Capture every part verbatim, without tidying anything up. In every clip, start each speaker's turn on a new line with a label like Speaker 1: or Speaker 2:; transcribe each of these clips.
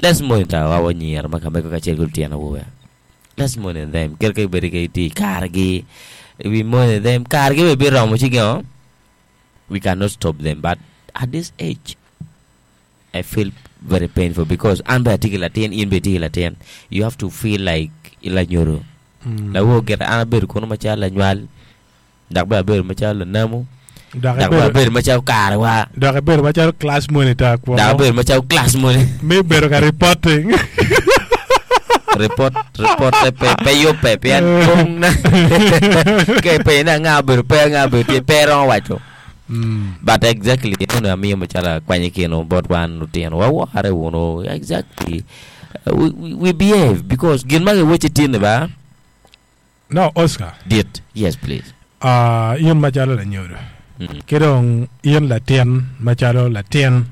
Speaker 1: Let's monitor our anyira ma ka mego kacel ki lutino awobe. Let's monitor them. Kit ka gibedo ki tye i karegi, we monitor them. Karegi bene biromo ci gingo? We cannot stop them but at this age I feel very painful because an bene atye ki latin, in bene itye ki latin. You have to feel like lanyodo. Lawor gire an abedo kunu macalo lanywal dok bene abedo macalo lanamu
Speaker 2: Dok
Speaker 1: dok bene
Speaker 2: ibedo
Speaker 1: abedo macalo karewa
Speaker 2: dok ibedo macalo class monitor
Speaker 1: dok
Speaker 2: kwono
Speaker 1: abedo macalo class monitor.
Speaker 2: me bedo ka reporting.
Speaker 1: Report report pe pe yubbe pien pong na ka ipenyo ni anga obedo pe anga obedo tye pe iromo waco.
Speaker 2: Mm.
Speaker 1: But exactly eno amiyo macalo akwany kino bot wan lutino wawore wunu exactly uh, we, we, we behave because gin ma giweci tini ba
Speaker 2: No, Oscar.
Speaker 1: dit yes please
Speaker 2: Uh, in macalo lanyodo
Speaker 1: mm.
Speaker 2: ki dong in latin macalo latin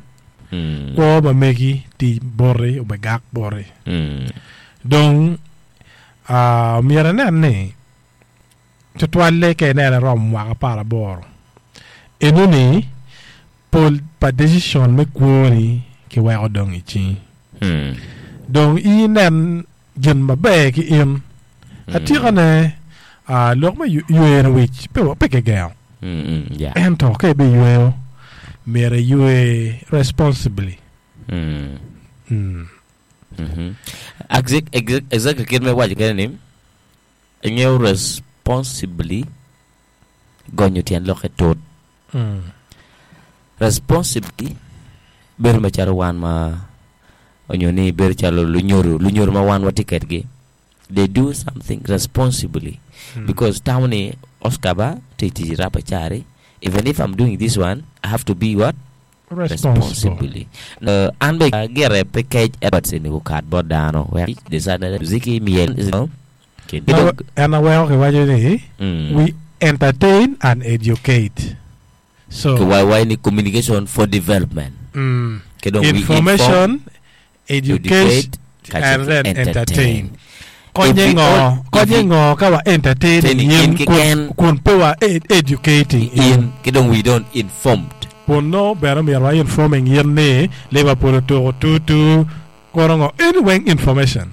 Speaker 1: Mm.
Speaker 2: kwo ma megi ti boti obegak boti
Speaker 1: Mm.
Speaker 2: dong uh, myero inen ni tutwalle ka ineno iromo mwaka apar aboro enoni pol pa decision me kwoni kiweko dong i cingi
Speaker 1: Mm.
Speaker 2: dong in inen gin maber ki in atikane uh, lok me yu- ywero wic pe, pe kigengo
Speaker 1: Mm, mm, yeah.
Speaker 2: ento ka ibiyweyo myero iywe responsibly
Speaker 1: Mm.
Speaker 2: mm.
Speaker 1: Mhm. Exact, exact, exactly kit me waco kene ni ingeo responsibly gonyo tyen lokke tut
Speaker 2: Mm.
Speaker 1: responsibly bedo macalo wan ma onyo ni bedo calo lunyodo lunyodo ma wan watye kedgi they do something responsibly
Speaker 2: Mm.
Speaker 1: because tamo ni Oscar ba tye tic rapa cari even if I'm doing this one I have to be what
Speaker 2: responsible
Speaker 1: responsibly uh, an be gire pe kec Edwards ni gukat bot dano wek designer muziki miel
Speaker 2: No, en aweko kiwaco ni
Speaker 1: mm.
Speaker 2: we entertain and educate so
Speaker 1: Kiwaiwai ni communication for development
Speaker 2: mm,
Speaker 1: Ki dong we
Speaker 2: information
Speaker 1: inform,
Speaker 2: education
Speaker 1: educate
Speaker 2: and then entertain konye
Speaker 1: If we
Speaker 2: ngo
Speaker 1: all- if
Speaker 2: konye
Speaker 1: we-
Speaker 2: ngo ka wa entertaining
Speaker 1: Entertaining
Speaker 2: in
Speaker 1: in
Speaker 2: kun,
Speaker 1: kiken.
Speaker 2: kun pe wa ed- educating in
Speaker 1: in ki dong we don't informed
Speaker 2: kun no bene myero wa informing in ni Liverpool otuko two-two kono ngo anyway information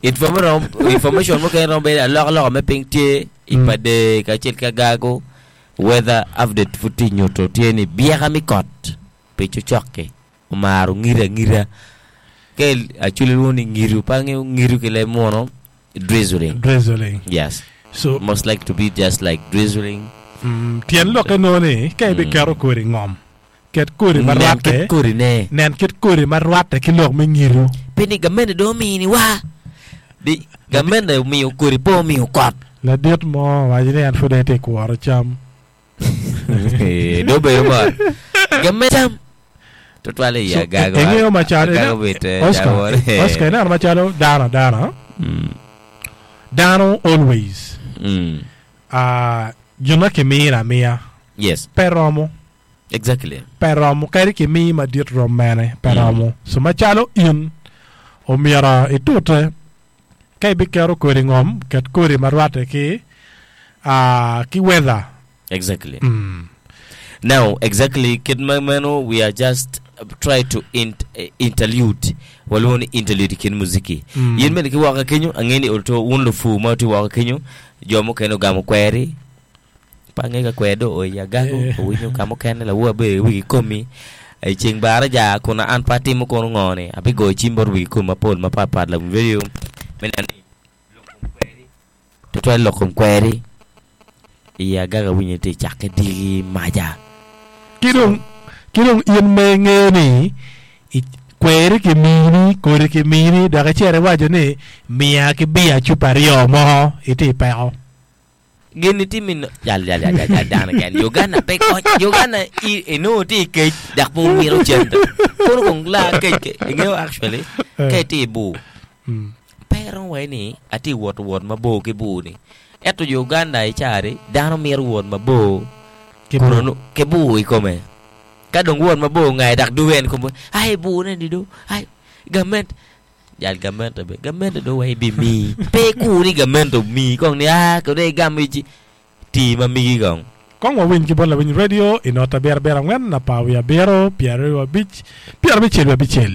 Speaker 1: information information mukene romo bedo alokaloka me piny tye i
Speaker 2: Mm.
Speaker 1: pade kacel ki agago weather update pud tye nyuto tye ni byeka mi kot pi cocok-ki omaro ngiro angira ka actually lwongo ni ngiru pe angeyo ngiru ki leb muno drizzling
Speaker 2: drizzling
Speaker 1: yes
Speaker 2: so
Speaker 1: most like to be just like drizzling
Speaker 2: mm, tyen lokke no ni ka ibiketo kodi ngom ket kodi ma
Speaker 1: nen
Speaker 2: rwatte
Speaker 1: kit kodi ne
Speaker 2: nen kit kodi ma rwatte ki lok me ngiru
Speaker 1: pi ni gamene do omini wa di gamene omiyo kodi pe omiyo kot
Speaker 2: ladit mo waco ni en pud etye i kworo cam
Speaker 1: do obedo mot gamene cam tutwal i
Speaker 2: So,
Speaker 1: agago
Speaker 2: ingeo macalo
Speaker 1: agago bit
Speaker 2: Oscar Oscar ineno macalo dano adana
Speaker 1: Mm.
Speaker 2: dano always
Speaker 1: Mm.
Speaker 2: uh, gin ma kimiro amiya
Speaker 1: Yes,
Speaker 2: pe romo
Speaker 1: exactly.
Speaker 2: pe romo kadi kimii madit rom mene pe
Speaker 1: Mm.
Speaker 2: romo so macalo in omyero itute ka ibiketo kodi ngom ket kodi ma rwatte ki uh, ki weather
Speaker 1: Exactly.
Speaker 2: mm.
Speaker 1: Now, exactly, kit ma meno we are just uh, try to int, uh, interlude. Waluongo ni interlude kin muziki.
Speaker 2: Mm.
Speaker 1: Yin bene kiwoko kenyo, ang'e ni oto un lufu ma oti woko kenyo, jo mukene ogamo kweri. Pa ang'e ka kwer do oya gago,
Speaker 2: Eh.
Speaker 1: owinyo ka mukene lawu abedo i wigi komi. E ceng baraja kuna an pa atimo kono ngone, abigoyo cim bot wigi komi mapol mapatpat la video. Me neno ni lok kom kweri. Tutwal lok kom kweri. I agaga winyo tye cakke diki maja.
Speaker 2: ki dong ki dong in ma ingeo ni i- kweri kimini kodi kimini dok icito iwaco ni miya ki bia cupa aryo mo itye i peko
Speaker 1: Gini timi no jal jal jal jal jal dano ken Uganda pe kony Uganda i inongo tye i kec dok pe omito cente kono kong la kec ke ingeo actually ka itye i bur
Speaker 2: Mm.
Speaker 1: pe iromo waci ni atye wot wot mabor ki bur ni ento Uganda i cari dano mito wot mabor
Speaker 2: Ki
Speaker 1: kono
Speaker 2: bur.
Speaker 1: nu- ki bur i kome ka dong wot mabor ngaye dok duwe en kome ai bur ne do ai gament jal gamente be gamente do wai bi mi pe ku ni gamente mi kong ni ah kode igamo ici ti ma migi kong
Speaker 2: Kong wawiny ki bot lawiny radio i not abiro abiro angwen apar wiye abiro pyeraryo abic pyerabicel wiye abicel.